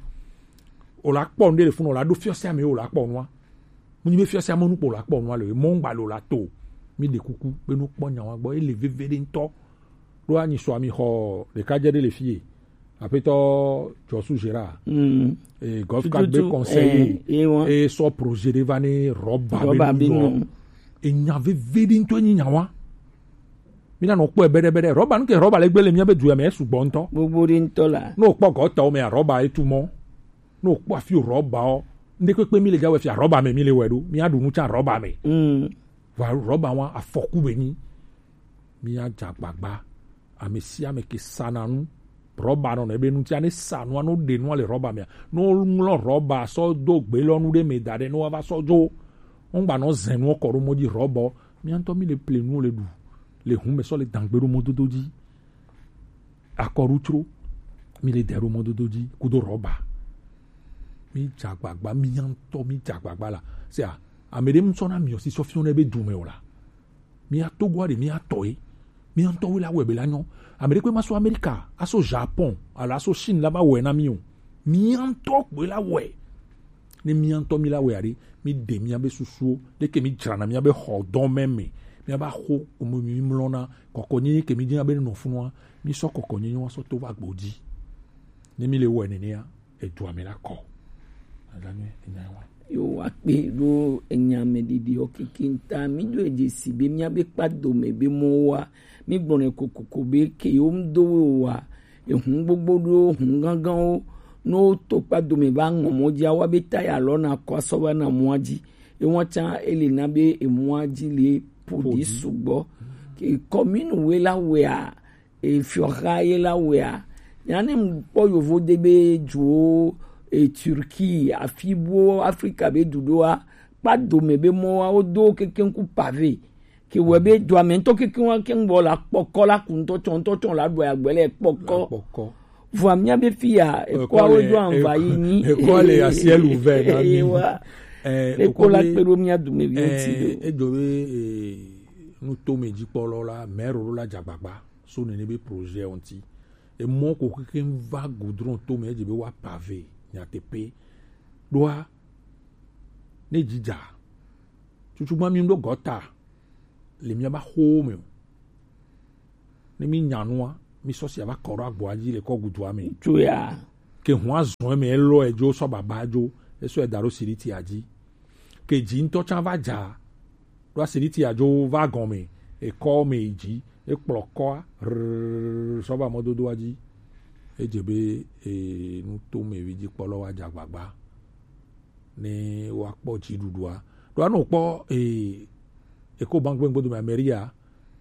O la kpɔ nu ɖe le funu, o la ɖo fiɔse ame, o la kpɔ nua. Mu nyi be fiɔse ame nu kpɔ o la kpɔ nua le, emɔ ŋgba le o la to. Mi ɖe kuku be no kpɔ nya wa gbɔ, ele veve ɖe ŋutɔ. Ɖo anyi sɔ ami xɔ ɖeka dze ɖe le fie. Aƒetɔ Jɔsu Gérard. Mm. E, Golf Cup be conseil. E, e, e sɔ projet ɖe va ne rɔba be nu. Enya veve ɖe ŋutɔ nyi nya wa. Mi na nɔ kpɔe bɛɖɛbɛɖɛ. Rɔba nu ke rɔba le gbe le mia be du ya me esugbɔ ŋutɔ. Gbogbo ɖe ŋutɔ la. Ne o kpɔ gɔtɔwo mea, rɔba etu mɔ. Ne o kpɔ afi o rɔba o, ŋɖe kpekpe mi le ga wɛ fia rɔba me mi le wɛ ɖo. Mi aɖu nu tsa rɔba me. Mm. Va rɔba wa afɔku be nyi. Mi adze agbagba. Ame sia ame ke sana nu. Rɔba nɔ ne be nu tsia ne sa nua, no ɖe nua le rɔba mea. No ŋlɔ rɔba sɔ do gbe lɔ nu ɖe me da ɖe no wa va sɔ dzo. Ŋgba nɔ zɛn nua kɔ ɖo mɔ dzi rɔbɔ. Mia ŋutɔ mi le ple nuwo le ɖu, le hun me sɔ le dangbe ɖo mɔdodo dzi. Akɔɖutsro, mi le dɛ ɖo mɔdodo dzi kudo rɔba. Mi dze agbagba, mia ŋutɔ mi dze agbagba la. Sia, ame ɖe ŋu sɔ na miɔ si sɔ fiɔ ne be dume o la. Mia Togoa ɖe mia tɔ ye. Mia ŋutɔ wo la wɛ be la nyɔ. Ame ɖe kpe ma so Amerika, aso Japon, alo aso Chine la va wɛ na mi o. Mia ŋutɔ kpoe la wɛ. Ne mia ŋutɔ mi la wɛ aɖe, mi ɖe mia be susuwo, leke mi dzrana mia be xɔ dɔn mɛ me, mia ba xo ome mi mlɔna, kɔkɔnyenye ke mi dina be nɔ funua, mi sɔ kɔkɔnyenye wa sɔ to va gbo dzi. Ne mi le wɛ nenea, edua me la kɔ. Ala nyuie, enya wa. Yo wa kpe ɖo enya me ɖiɖi o kiki ŋta, mi do edze si be mia be kpa dome be mɔ wa, mi gblɔ ne kokoko be ke yo ŋdo wa, ehun gbogbo ɖo hun ganganwo, ne woto kpa dome va ŋɔ mɔ dzi, awa be taya lɔ na kɔ asɔ va na mɔa dzi. Ewa tsã ele na be emɔa dzi le ƒo ɖi sugbɔ. Ke kɔminu we la wea, e fiɔha ye la wea. Nya ne mu kpɔ yovo de be duwo, e Turquie, afi buwo Afrika be du ɖoa, kpa dome be mɔa, wodo kekeŋ ku pave. Ke wɔ be dua me ŋutɔ kekeŋ wa keŋ bɔ la kpɔkɔ la ku ŋutɔ tsɔ ŋutɔ tsɔ la ɖu agbe le kpɔkɔ. Kpɔkɔ. Vɔa mia be fi ya, ekɔa wo do anva yi nyi. Ekɔa le asiɛlu vɛ na mi. Ewa. Eh, ekɔ la kpe ɖo mia dume vi ŋuti do. Edzo be, eh, nu to me dzikpɔlɔ la, mɛro la dze agbagba so nene be projet ŋuti. Emɔ ko kekeŋ va goudron to me, edze be wa pave nyateƒe. Ɖoa, ne dzi dza, tutugbã mi ɖo gɔta le mía ba xo me o. Ne mi nya nua, mi sɔ sia va kɔ ɖo agboa dzi le kɔ gudua me. Tsoya. Ke hua zɔn me elɔ edzo sɔ baba dzo, esɔ eda ɖo siriti adzi. Ke dzi ŋutɔ tsã va dza, ɖo asiriti adzo va gɔme, ekɔ me yi dzi, ekplɔ kɔa, rrrr, sɔ va mɔdodoa dzi. Edze be, e, nu to me vi dzi kpɔlɔ wa dza gbagba. Ne woakpɔ dziɖuɖua. Ɖo anɔ kpɔ, e, Ecobank be ŋgbedo me, Ameria.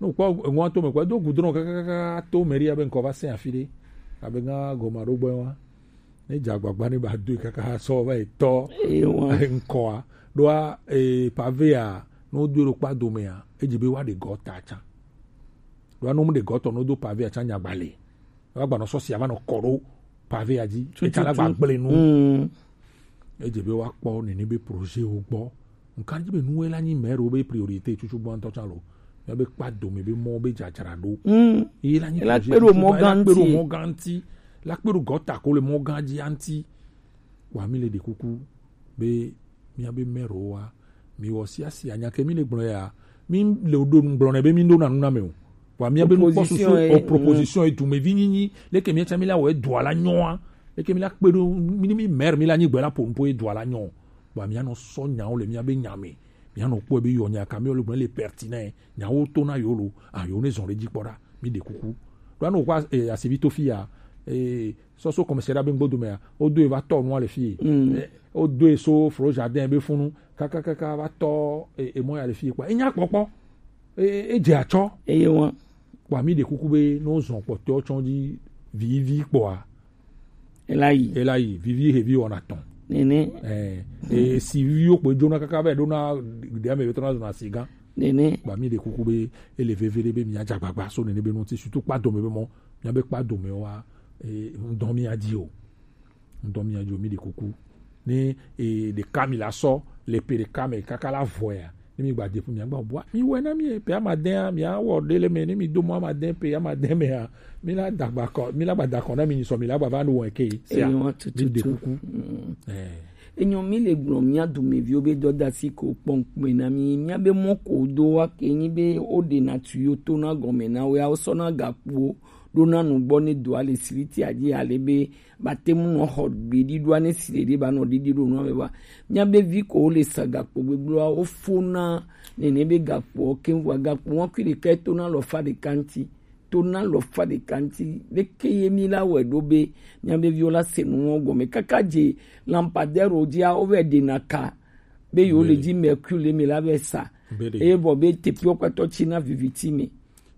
Ne wokpɔ eŋua to me kpɔ, edo gudron kakakaka to Ameria be ŋkɔ va se afi ɖe. Abe ŋa gɔma ɖo gbɛ wa. Ne dze agbagba ne ba doe kaka sɔ va yi tɔ Ewa. Ŋkɔa. Ɖoa, e, pavea, ne wodoe ɖo kpa domea, edzi be woaɖe gɔta tsã. Ɖoa ne womeɖe gɔta o, ne wodo pavea tsã, nyagba le. Woagbanɔ sɔ sia va nɔ kɔ ɖo pavea dzi. Tututu. Etsã la gba gblẽ nu. Mm. Edze be woakpɔ nene be projet wo gbɔ. Nka dzi be nuwe la nyi mɛro be priorité tutugbã ŋutɔ tsã lo. Mía be kpa dome be mɔ be dzadzra ɖo. Mm. Ye la nyi Ela projet kpe ɖo tutugbã, mɔ ela kpe ɖo gã ŋuti. Mɔ gã ŋuti. La kpe ɖo gɔta ko le mɔ gã dzi ŋuti. Wa mi le ɖe kuku be mía be mɛro wa. Mi wɔ sia sia nya ke mi le gblɔ ya. Mi le ɖo nu gblɔ ne be mi ɖo na nu na me o. Wa mía be nukpɔsusu, proposition ye, o proposition ye, dumevi nyinyi, leke mía tsã mi la wɔ edua la nyɔa, leke mi la kpe ɖo, mi, mi maire mi la nyi gbe la ƒo nuƒo edua la nyɔ. Wa mía nɔ sɔ nyawo le mía be nya me. Mía nɔ kpɔe be yɔ nya ka mi le gblɔ le pertinent, nyawo to na yo lo, a yo ne zɔn ɖe dzi kpɔ ɖa, mi ɖe kuku. Ɖo anɔ kpɔ, e, asivi to fi ya, e, sɔsɔ commissariat be ŋgbodo mea, wodo e va tɔ nua le fi. Mm. E, wodo e so Flo Jardin be funu, kakakaka va tɔ, e, e mɔ ya le fi kpa. Enya kpɔkpɔ. E, e dze atsɔ. Eye wa. Kpɔ mi ɖe kuku be ne wozɔn kpɔtɔewo tsɔ dzi vivi kpɔa. Ela yi. Ela yi, vivi hevi wɔna tɔn. Nene. Eh, e, si viviwo kpɔ dzona kaka be ɖona ɖe ame be tɔna zɔna si gã. Nene. Kpɔ mi ɖe kuku be ele veve ɖe be mía dza gbagba so nene be ŋuti, surtout kpa dome be mɔ, mía be kpa dome wa, e, ŋdɔ mía dzi o. Ŋdɔ mía dzi o, mi ɖe kuku. Ne, e, ɖeka mi la sɔ le pe ɖeka me kaka la vɔ ya. Ne mi gba de ƒu mia gba bua. Mi wɛ na mi pe amadɛn a, mi awɔ ɖe le me, ne mi do mɔ amadɛn pe amadɛn me a. Mi la dagba kɔ, mi la gba da kɔ na mi nyi sɔ, mi la gba va ɖo wɔn ke. Sia. Eyi wa tututu. Mi ɖe kuku. Mm. Eh. Enyɔ mi le gblɔ mía dumeviwo be dɔdasi ko kpɔ ŋkume na mi. Mía be mɔ ko do wa ke nyi be wo ɖe na tu yo to na gɔme na wo ya, wo sɔ na gakpo ɖo na nugbɔ ne do ale siriti adzi ale be ba te ŋu nɔ xɔ gbeɖiɖoa ne si ɖeɖi ba nɔ ɖiɖi ɖo nua me ba. Mía be vi ko wo le sa gakpo gbegblɔa, wo fo na nene be gakpoɔ keŋ vɔa gakpo ŋua kui ɖeka to na lɔfa ɖeka ŋuti. To na lɔfa ɖeka ŋuti. Leke ye mi la wɔe ɖo be mía be viwo la se nu ŋɔ gɔme? Kaka dze lampadaire wo dzia, wo vɛ ɖe na ka be yo le dzi mercure le me la vɛ sa. Be ɖe. Eye vɔ be teƒewo kpatɔ tsi na viviti me.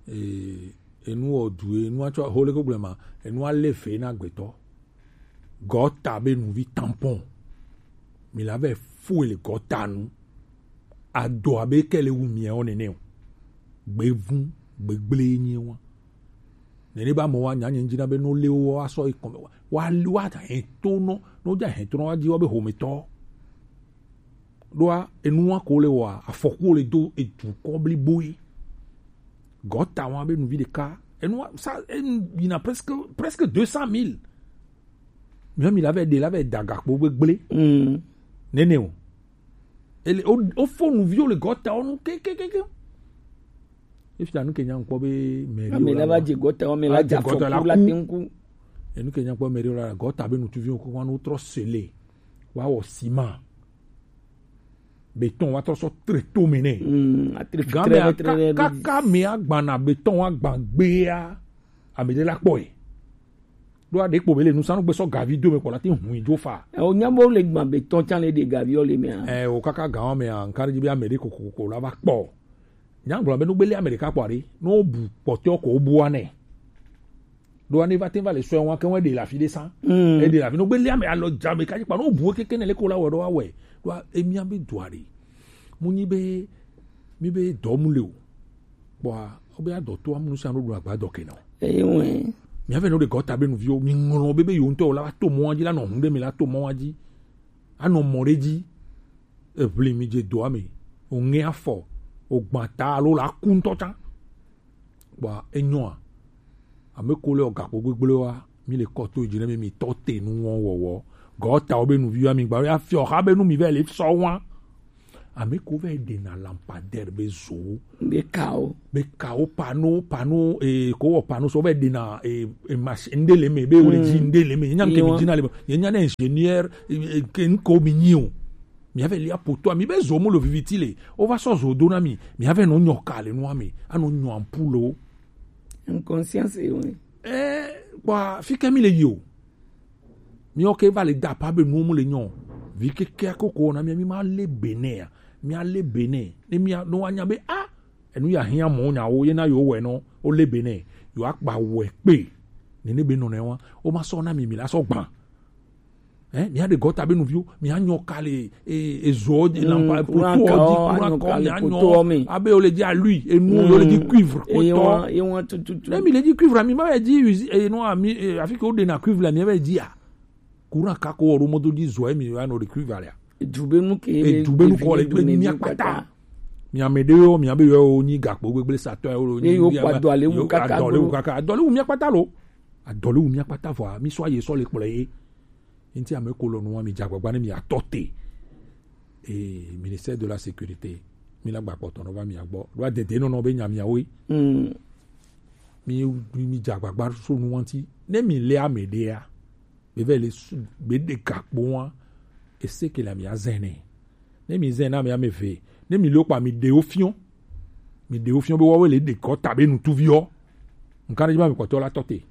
Ee, enu wɔ du ye, enu atsɔ ho le ko gblɔ ma, enu ale ve na gbetɔ. Gɔta be nuvi tampon. Mi la vɛ fue le gɔta nu. Adɔ abe ke le wu miawo nene o. Gbevun, gbegble ye nyi wa. Nene ba mɔ wa nya nye ŋdzi na be no le wo wa sɔ yi kɔme wa. Wa le wa hɛn to nɔ, no dza hɛn to nɔ wa dzi wa be hometɔ. Ɖoa, enua ko le wɔa, afɔku le do edukɔ blibo ye. Gɔta wa be nuvi ɖeka. Enua, sa, enu yina presque, presque deux cent mille. Mia mi la vɛ ɖe, la vɛ da gakpo gbegble. Mm. Nene o. Ele, o, o fo nuviwo le gɔta wo nu ke, ke, ke, ke. Efia nu ke nya ŋkpɔ be mairie ame la va dze gɔta, ame la dze afɔku la te ŋku. Enu ke nya ŋkpɔ mairie la, gɔta be nutuviwo ko wa no trɔ sele. Wa wɔ sima. Béton wa trɔ sɔ tre to me nɛ. Mm, atri fi Game tre, a tre, ka-, tre, kaka me agbana béton wa gban gbea. Ame ɖe la kpɔe. Ɖo aɖe kpo be le nusanu gbe sɔ gavi do me kpɔ la ti hun idzo fa. E, o nya bo le gban béton tsan le ɖe gavi o le mea. E, o kaka gan me a, nkari dzi be ame ɖe kokoko la va kpɔ. Nya gblɔ be no gbeli ame ɖeka kpɔ aɖe, no bu kpɔtɔ ko bua nɛ. Ɖo ane va te va le sɔe wa ke wa ɖe la fi ɖe sa. Mm. E ɖe la fi no gbeli ame alɔ dza me kaji kpa no bu keke ne le ko la wɔ ɖo awɛ. Ɖo emia be do aɖe. Mu nyi be, mi be dɔ mu le o. Kpɔa, wo be adɔ to amu nusia no ɖo agba dɔ ke na o. Eye wɛ. Mi ave no ɖe gɔta be nuviwo, mi ŋlɔ be be yo ŋutɔ la va to mɔ wa dzi la nɔ hun ɖe mi la to mɔ wa dzi. Anɔ mɔ ɖe dzi. Eʋli mi dze doa me. O ŋe afɔ. O gbã ta alo la ku ŋutɔ tsã. Kpɔa, enyɔa. Ame ko le o gakpo gbegble wa, mi le kɔ to dzi ne mi, mi tɔ te nu wɔn wɔwɔ. Gɔta wo be nuvi wa mi gba ya fiɔ xa be nu mi vɛ le sɔ wa. Ame ko vɛ de na lampadaire be zo. Be kawo. Be kawo pano pano e ko wɔ pano so vɛ de na e e machine nde le me be wo le ji nde le me. Nya ke mi ji na le me. Ye nya na ingénieur e, e, ke nko mi nyi o. Mi avɛ li apoto mi be zo mo lo viviti le. O va sɔ zo do na mi. Mi avɛ no nyɔ ka le nu ame. Ano nyɔ ampoule o. Inconscience e o. Eh, kwa fike mi le yi o. Mi oke va le da pa be nu mu le nyɔ. Vi keke koko na mi mi ma le bene ya. Mi a le bene. Ne mi a no anya be ah. Enu ya hia mo nya o ye na yo we no. O le bene. Yo akpa we pe. Ne ne be no ne wa. O ma so na mi mi la so gban. Eh, mi a de gɔta be nu vi o. Mi a nyɔ ka le e e zo di lampa poto o di kura kɔ mi a nyɔ. Abe o le di alui enu o le di cuivre ko tɔ. Ye wa tututu. Ne mi le di cuivre mi ma be di usi e no mi e afi ke o de na cuivre la mi be di a. Kura ka ko ro mo do di zo e mi wa no de cuivre la. Edu be nu ke edu be nu ko le gbe mi akpata. Mi ame de yo mi abe yo o nyi gakpo gbegble satɔ yo lo nyi yo kpa do ale wu kaka adɔ le wu kaka adɔ le wu mi akpata lo. Adɔ le wu mi akpata vɔ mi so aye so le kplɔ ye. Nti ame ko lɔ nu wa mi dza gbagba ne mi atɔ te. Eh, ministère de la sécurité mi la gba kpɔtɔ nɔ va mi agbɔ ɖo adede nɔnɔ be nya mi awoe. Mi mi dza gbagba so nu wa nti ne mi le ame de ya. Be vɛ le su be de gakpo wa. Ese ke la mi azɛnɛ. Ne mi zɛn na mi ame ve ne mi le kpa mi de wo fiɔ. Mi de wo fiɔ be wa we le de kɔ ta be nu tu vi ɔ. Nka ne dzi ma mi kpɔtɔ la tɔ te.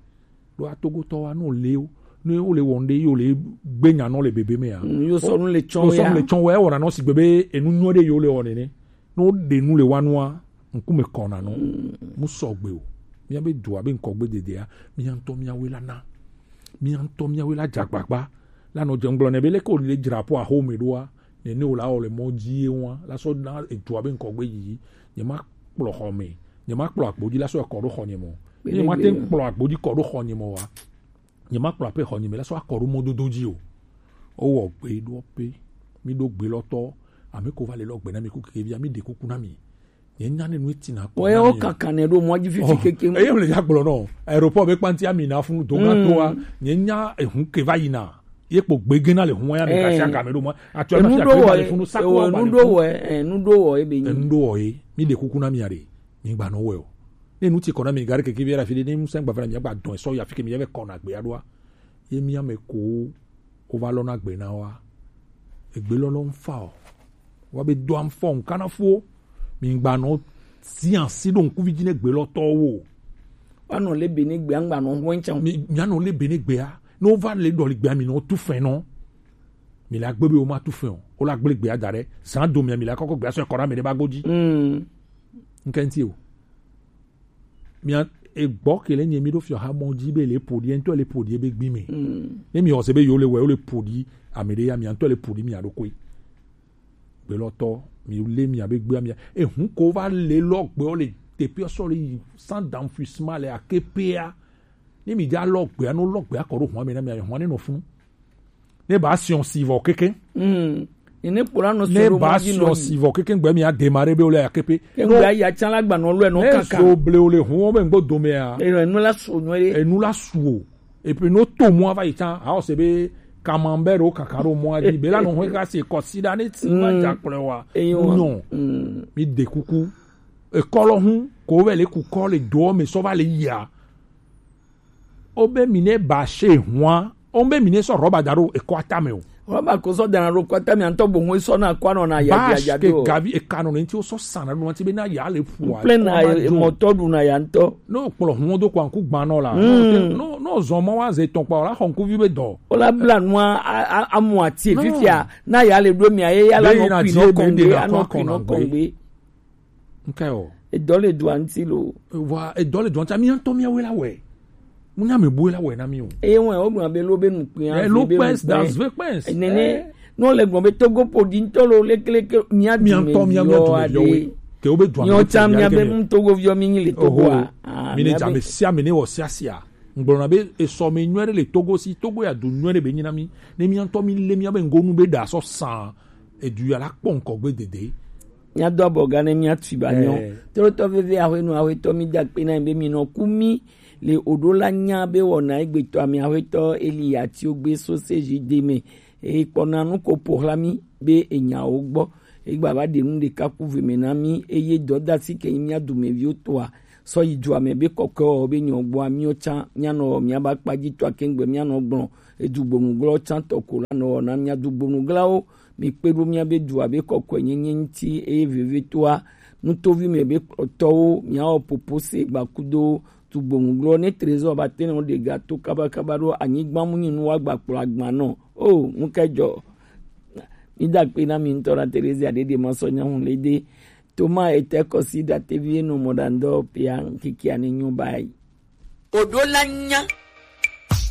Ɖo atogotɔ wa no le o ne o le wɔn ɖe yo le gbe nya nɔ le bebe me ya. Yo sɔ nu le tsɔn ya. Yo sɔ nu le tsɔn wa ewɔ na nɔ si gbe be enu nyɔ ɖe yo le wɔ nene. Ne o ɖe nu le wa nua ŋkume kɔ na nɔ. Mu sɔ gbe o. Mia be dua be ŋkɔ gbe dedea. Mia ŋutɔ mia we la na. Mia ŋutɔ mia we la dza gbagba. La nɔ dze ŋgblɔ ne be leke o le dzra po aho me ɖoa. Nene o la wɔ le mɔ dzi ye wa la sɔ na edua be ŋkɔ gbe yiyi. Nye ma kplɔ xɔ me. Nye ma kplɔ akpo dzi la sɔ ekɔ ɖo xɔ nye mɔ. Ne ma te kplɔ akpo dzi kɔ ɖo xɔ nye mɔ wa. Nye ma kplɔ aƒe xɔ nye me la sɔ akɔ ɖo mɔdodo dzi o. O wɔ gbe ɖo pe. Mi ɖo gbe lɔ tɔ. Ame ko va le lɔ gbe na mi ku keke via mi de kuku na mi. Nye nya ne nu eti na kɔ. Wɔ ye wo kaka ne ɖo mɔ dzi fifi keke. Eye le ya gblɔ nɔ. Aéroport be kpanti ami na funu do na toa. Nye nya ehun ke va yina. Ye kpo gbege na le hun ya mi ka sia game ɖo mɔ. Actuellement sia ke va le funu sako va le funu. Enu ɖo wɔ ebe nyi. Enu ɖo wɔ ye. Mi de kuku na mi are. Mi gba nɔ wɔ o. Ne nu ti kɔ na mi gari keke via fi de ne musa gba fana mi gba dɔn so ya fi ke mi ya ve kɔ na gbe ya ɖoa. Ye mi ame ko o va lɔ na gbe na wa. Egbe lɔlɔ nfa o. Wa be do am fɔ nka na fo. Mi gba nɔ si ansi ɖo ŋkuvi dzi ne gbe lɔ tɔ wo. Wa nɔ le be ne gbe angba nɔ hɔn tsan. Mi mi anɔ le be ne gbe a. Ne o va le dɔli gbe a mi nɔ tu fɛn nɔ. Mi la gbe be o ma tu fɛn o. O la gble gbe a da ɖe. San do mi mi la kɔkɔ gbe a sɔ kɔ na mi ɖe ba go dzi. Nke ŋti o. Mia egbɔ ke le nye mi ɖo fiɔ ha mɔ dzi be le ƒo ɖi ŋutɔ le ƒo ɖi ebe gbi me. Ne mi ɔse be yo le wɔ yo le ƒo ɖi ame ɖe ya mia ŋutɔ le ƒo ɖi mia ɖo koe. Gbelɔtɔ mi le mia be gbea mia ehun ko va le lɔ gbeɔ le teƒe sɔ le yi sans d'enfouissement le akepea. Ne mi dza lɔ gbea no lɔ gbea kɔ ɖo hɔn me na mia hɔn ne nɔ funu. Ne ba siɔn si vɔ keke. Mm. Ne kpora no ne ba siɔn si vɔ keke gbe mi a démarrer be o le akepe. Ke gbe ya tsan la gba no lo no kaka. Ne so ble o le hun o be ngbo do me a. E no la so no e. E nu la su o. Et puis no to mo ava itan a o se be camembert o kaka ro mo a di be la no ho ka se ko sida ne ti ma ja kple wa. Eyo. Non. Mi de kuku. E kɔlɔ hun ko ve le ku kɔ le do me so va le ya. O be mi ne ba se hua. O be mi ne sɔ rɔba da ɖo ekɔ atame o. Rɔba ko sɔ dana ɖo kɔ atame antɔ gbɔn ŋu sɔ na kɔ anɔ na ya ya ya do. Ke gavi eka nɔ ne ŋuti o sɔ sana ɖo ŋuti be na ya le ƒu a. Kple na mɔtɔ ɖu na ya ŋutɔ. Ne o kplɔ hu do kɔ ŋku gban nɔ la. No no zɔn mɔ wa ze tɔn kpa o la xɔ ŋkuvi be dɔ. O la bla nua amu ati fifia na ya le ɖo mia ye ya la nɔ kui nɔ kɔngbe anɔ kui nɔ kɔngbe. Nke o. Edɔ le dua ŋuti lo. Wa edɔ le dua ŋuti mi ŋutɔ mi awe la wɛ. Mu nya me bu la wɛ na mi o. Eye wọn o gblɔ be lo be nu kpɛ. Lo kpɛ das ve kpɛ. Nene no le gblɔ be Togo podi ŋutɔ lo lekeleke mia du me yɔ ade. Ke o be dua me. Nyɔ tsa mia be mu Togo viɔ mi nyi le Togo a. Mi ne dza me sia mi ne wɔ sia sia. Ŋgblɔna be esɔ me nyuie ɖe le Togo si Togo ya du nyuie ɖe be nyi na mi. Ne mi ŋutɔ mi le mia be ŋgonu be da sɔ san. Edu ya la kpɔ ŋkɔ gbe dede. Míado abɔ ga ne míatui ba nyɔ. Trotɔ veve ahwenu ahwetɔ mi da kpe na be mi nɔ ku mi Le oɖo la nya be wɔna egbetɔ ame axwetɔ Eli Atiogbe Soseji de me. Ekpɔna nu ko ƒo xlã mí be enyawo gbɔ. Egba va ɖe nu ɖeka ku ve me na mí, eye dɔdasi ke nyi mía dumeviwo tɔa sɔ yi dua me be kɔkɔewɔwɔ be nyɔ gbɔa míwo tsã míanɔ míabe akpa dzi tɔa kengbe míanɔ gblɔ. Edugbonu glɔ tsã tɔ ko la nɔ wɔna mía dugbonu glawo. Mi kpe ɖo míabe dua be kɔkɔenyenye ŋuti, eye vevitɔa nutovi me be kplɔtɔwo míawɔ popo se gbakudo tugbonu glɔ ne Trésor ba te nɔ ɖe ga to kabakaba ɖo anyigba mu nyi nu wa gba kplɔ agba nɔ. O, nu ka dzɔ? Mi da kpe na mi ŋutɔ na Terezia ɖeɖe ma sɔ nya ŋu le de. Toma ete kɔsi datevi enɔ mɔ ɖa ŋdɔ pia ŋkiki ani nyo bayi. Oɖo la nya.